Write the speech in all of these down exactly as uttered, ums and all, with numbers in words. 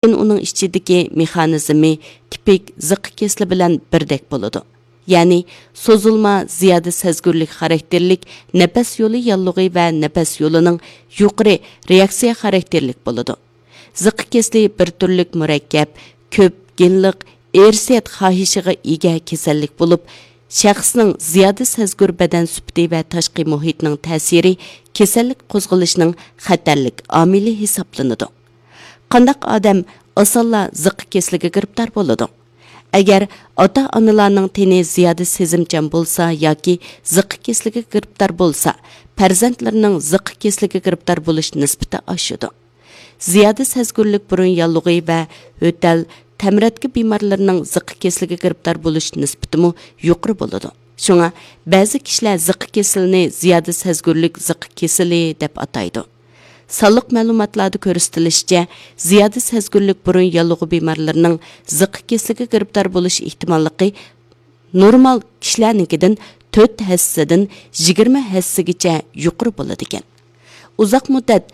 لېكىن ئۇنىڭ ئىچىدىكى مېخانىزمى تىپىك زىققا كېسىلى بىلەن بىردەك بولىدۇ. يەنى سوزۇلما زىيادە سەزگۈرلۈك خاراكتېرلىك نەپەس يولى ياللۇغى ۋە نەپەس يولىنىڭ يۇقىرى رېئاكسىيە خاراكتېرلىك بولىدۇ. زىققا كېسىلى بىر تۈرلۈك مۇرەككەپ، كۆپ گېنلىق ئىرسىيەت خاھىشىغا ئىگە كېسەللىك بولۇپ، شەخسنىڭ زىيادە سەزگۈر بەدەن سۈپىتى ۋە تاشقى مۇھىتنىڭ تەسىرى كېسەللىك قوزغىلىشنىڭ خەتەرلىك ئامىلى ھېسابلىنىدۇ. قانداق ئادەم ئاسانلا زىققا كېسىلىگە گىرىپتار بولىدۇ؟ ئەگەر ئاتا-ئانىلارنىڭ تېنى زىيادە سېزىمچان بولسا ياكى زىققا كېسىلىگە گىرىپتار بولسا، پەرزەنتلىرىنىڭ زىققا كېسىلىگە گىرىپتار بولۇش نىسبىتى ئاشىدۇ. زىيادە سەزگۈرلۈك بۇرۇن ياللۇغى ۋە يۆتەل، تەمرەتكە بىمارلىرىنىڭ زىققا كېسىلىگە گىرىپتار بولۇش نىسبىتىمۇ يۇقىرى بولىدۇ. شۇڭا بەزى كىشىلەر زىققا كېسىلىنى زىيادە سەزگۈرلۈك زىققا كېسىلى دەپ ئاتايدۇ. سانلىق مەلۇماتلاردا كۆرسىتىلىشىچە، زىيادە سەزگۈرلۈك بۇرۇن ياللۇغى بىمارلىرىنىڭ زىققا كېسىلىگە گىرىپتار بولۇش ئېھتىماللىقى نورمال كىشىلەرنىڭكىدىن تۆت ھەسسىدىن يىگىرمە ھەسسىگىچە يۇقىرى بولىدىكەن. ئۇزاق مۇددەت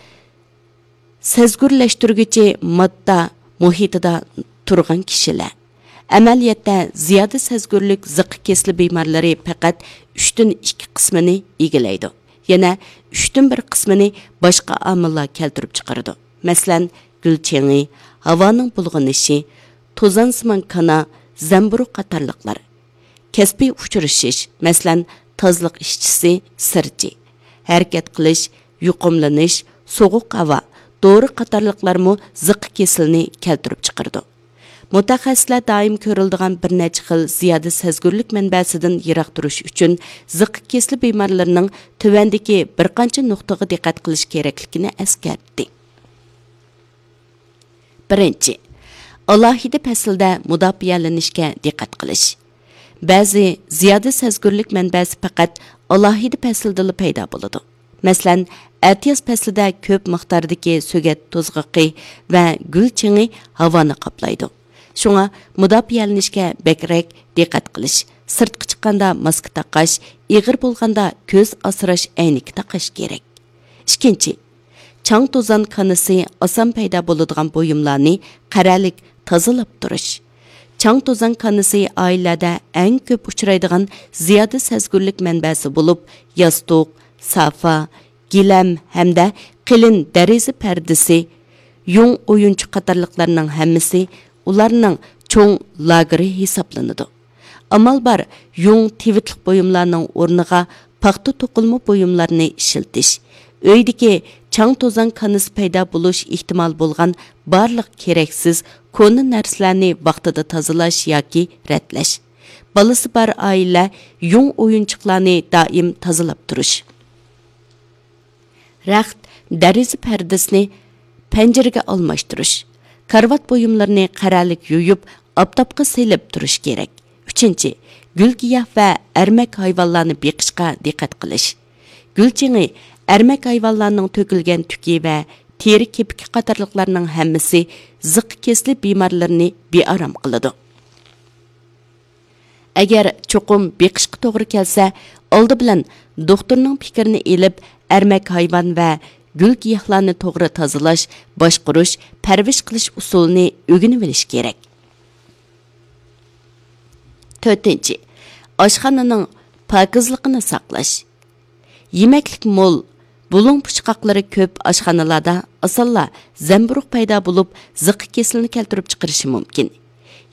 سەزگۈرلەشتۈرگۈچى ماددا مۇھىتىدا تۇرغان كىشىلەر. ئەمەلىيەتتە، زىيادە سەزگۈرلۈك زىققا كېسىلى بىمارلىرى پەقەت ئۈچتىن ئىككى قىسمىنى ئىگىلەيدۇ. يەنە ئۈچتىن بىر قىسمىنى باشقا ئامىللار كەلتۈرۈپ چىقىرىدۇ. مەسىلەن، گۈل چېڭى، ھاۋانىڭ بۇلغىنىشى، توزانسىمان كانا، زەمبۇرۇغ قاتارلىقلار. كەسپىي ئۇچرىشىش، مەسىلەن، تازىلىق ئىشچىسى، سىرچى، ھەرىكەت قىلىش، يۇقۇملىنىش، سوغۇق ھاۋا، دورا قاتارلىقلارمۇ زىققا كېسىلىنى كەلتۈرۈپ چىقىرىدۇ. مۇتەخەسسىسلەر دائىم كۆرۈلىدىغان بىر نەچچە خىل زىيادە سەزگۈرلۈك مەنبەسىدىن يىراق تۇرۇش ئۈچۈن، زىققا كېسىلى بىمارلىرىنىڭ تۆۋەندىكى بىر قانچە نۇقتىغا دىققەت قىلىش كېرەكلىكىنى ئەسكەرتتى. بىرىنچى، ئالاھىدە پەسىلدە مۇداپىئەلىنىشكە دىققەت قىلىش. بەزى زىيادە سەزگۈرلۈك مەنبەسى پەقەت ئالاھىدە پەسىلدىلا پەيدا بولىدۇ. مەسىلەن، ئەتىياز پەسلىدە كۆپ مىقداردىكى سۆگەت توزغىقى ۋە گۈل چېڭى ھاۋانى قاپلايدۇ. شۇڭا مۇداپىئەلىنىشكە بەكرەك دىققەت قىلىش، سىرتقا چىققاندا ماسكا تاقاش، ئېغىر بولغاندا كۆز ئاسراش ئەينىكى تاقاش كېرەك. ئىككىنچى، چاڭ توزان كانىسى ئاسان پەيدا بولىدىغان بۇيۇملارنى قەرەلىك تازىلاپ تۇرۇش. چاڭ توزان كانىسى ئائىلىلەردە ئەڭ كۆپ ئۇچرايدىغان زىيادە سەزگۈرلۈك مەنبەسى بولۇپ، ياستۇق، سافا، گىلەم ھەمدە قېلىن دېرىزە پەردىسى، يۇڭ ئويۇنچۇق قاتارلىقلارنىڭ ھەممىسى ئۇلارنىڭ چوڭ لاگېرى ھېسابلىنىدۇ. ئامال بار يۇڭ تىۋىتلىق بۇيۇملارنىڭ ئورنىغا پاختا توقۇلما بۇيۇملارنى ئىشلىتىش، ئۆيدىكى چاڭ توزان كانىسى پەيدا بولۇش ئېھتىمال بولغان بارلىق كېرەكسىز كونا نەرسىلەرنى ۋاقتىدا تازىلاش ياكى رەتلەش. بالىسى بار ئائىلە يۇڭ ئويۇنچۇقلارنى دائىم تازىلاپ تۇرۇش. رەخت، دېرىزە پەردىسىنى پەنجىرىگە ئالماشتۇرۇش. كارىۋات بۇيۇملىرىنى قەرەلىك يۇيۇپ، ئاپتاپقا سېلىپ تۇرۇش كېرەك. ئۈچىنچى، گۈل گىياھ ۋە ئەرمەك ھايۋانلارنى بېقىشقا دىققەت قىلىش. گۈل چېڭى، ئەرمەك ھايۋانلارنىڭ تۆكۈلگەن تۈكى ۋە تېرە كېپىكى قاتارلىقلارنىڭ ھەممىسى زىققا كېسىلى بىمارلىرىنى بىئارام قىلىدۇ. ئەگەر چوقۇم بېقىشقا توغرا كەلسە، ئالدى بىلەن دوختۇرنىڭ پىكرىنى ئېلىپ، ئەرمەك ھايۋان ۋە گۈل گىياھلارنى توغرا تازىلاش، باشقۇرۇش، پەرۋىش قىلىش ئۇسۇلىنى ئۆگىنىۋېلىش كېرەك. تۆتىنچى، ئاشخانىنىڭ پاكىزلىقىنى ساقلاش. يېمەكلىك مول، بۇلۇڭ پۇچقاقلىرى كۆپ ئاشخانىلاردا ئاسانلا زەمبۇرۇغ پەيدا بولۇپ، زىققا كېسىلىنى كەلتۈرۈپ چىقىرىشى مۇمكىن.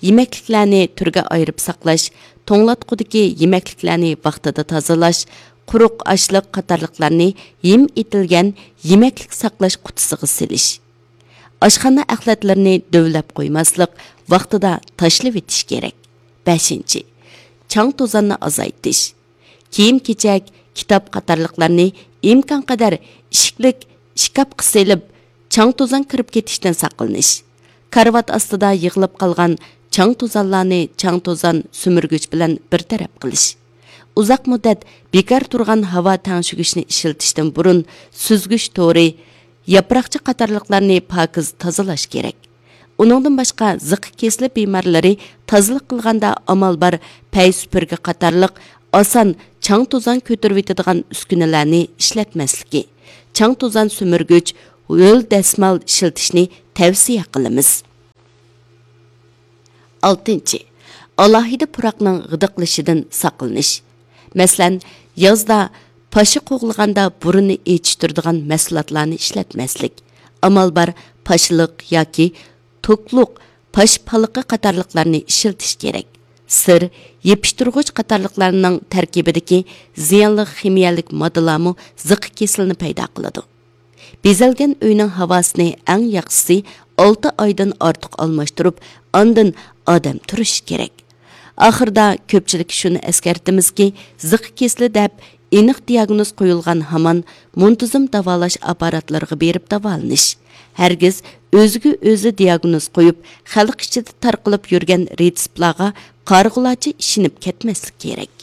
يېمەكلىكلەرنى تۈرگە ئايرىپ ساقلاش، توڭلاتقۇدىكى يېمەكلىكلەرنى ۋاقتىدا تازىلاش، قۇرۇق ئاشلىق قاتارلىقلارنى ھىم ئېتىلگەن يېمەكلىك ساقلاش قۇتىسىغا سېلىش. ئاشخانا ئەخلەتلىرىنى دۆۋىلەپ قويماسلىق، ۋاقتىدا تاشلىۋېتىش كېرەك. بەشىنچى، چاڭ توزاننى ئازايتىش. كىيىم-كېچەك، كىتاب قاتارلىقلارنى ئىمكانقەدەر ئىشىكلىك ئىشكاپقا سېلىپ، چاڭ-توزان كىرىپ كېتىشتىن ساقلىنىش. كارىۋات ئاستىدا يىغىلىپ قالغان چاڭ-توزانلارنى چاڭ-توزان سۈمۈرگۈچ بىلەن بىر تەرەپ قىلىش. ئۇزاق مۇددەت بىكار تۇرغان ھاۋا تەڭشىگۈچنى ئىشلىتىشتىن بۇرۇن سۈزگۈچ تورى، ياپراقچا قاتارلىقلارنى پاكىز تازىلاش كېرەك. ئۇنىڭدىن باشقا، زىققا كېسىلى بىمارلىرى تازىلىق قىلغاندا ئامال بار پەي سۈپۈرگە قاتارلىق ئاسان چاڭ-توزان كۆتۈرۈۋېتىدىغان ئۈسكۈنىلەرنى ئىشلەتمەسلىكى، چاڭ-توزان سۈمۈرگۈچ، ھۆل دەسمال ئىشلىتىشنى تەۋسىيە قىلىمىز. ئالتىنچى، ئالاھىدە پۇراقنىڭ غىدىقلىشىدىن ساقلىنىش. مەسىلەن، يازدا پاشا قوغلىغاندا بۇرنىنى ئېچىشتۇرىدىغان مەھسۇلاتلارنى ئىشلەتمەسلىك. ئامال بار پاشىلىق ياكى توكلۇق پاش پالىقى قاتارلىقلارنى ئىشلىتىش كېرەك. سىر، يېپىشتۇرغۇچ قاتارلىقلارنىڭ تەركىبىدىكى زىيانلىق خىمىيەلىك ماددىلارمۇ زىققا كېسىلىنى پەيدا قىلىدۇ. بېزەلگەن ئۆينىڭ ھاۋاسىنى ئەڭ ياخشىسى ئالتە ئايدىن ئارتۇق ئالماشتۇرۇپ، ئاندىن ئادەم تۇرۇشى كېرەك. ئاخىرىدا كۆپچىلىككە شۇنى ئەسكەرتىمىزكى، زىققا كېسىلى دەپ ئېنىق دىياگنوز قويۇلغان ھامان مۇنتىزىم داۋالاش ئاپپاراتلىرىغا بېرىپ داۋالىنىش. ھەرگىز ئۆزىگە ئۆزى دىياگنوز قويۇپ، خەلق ئىچىدە تارقىلىپ يۈرگەن رېتسېپلارغا قارىغۇلارچە ئىشىنىپ كەتمەسلىك كېرەك.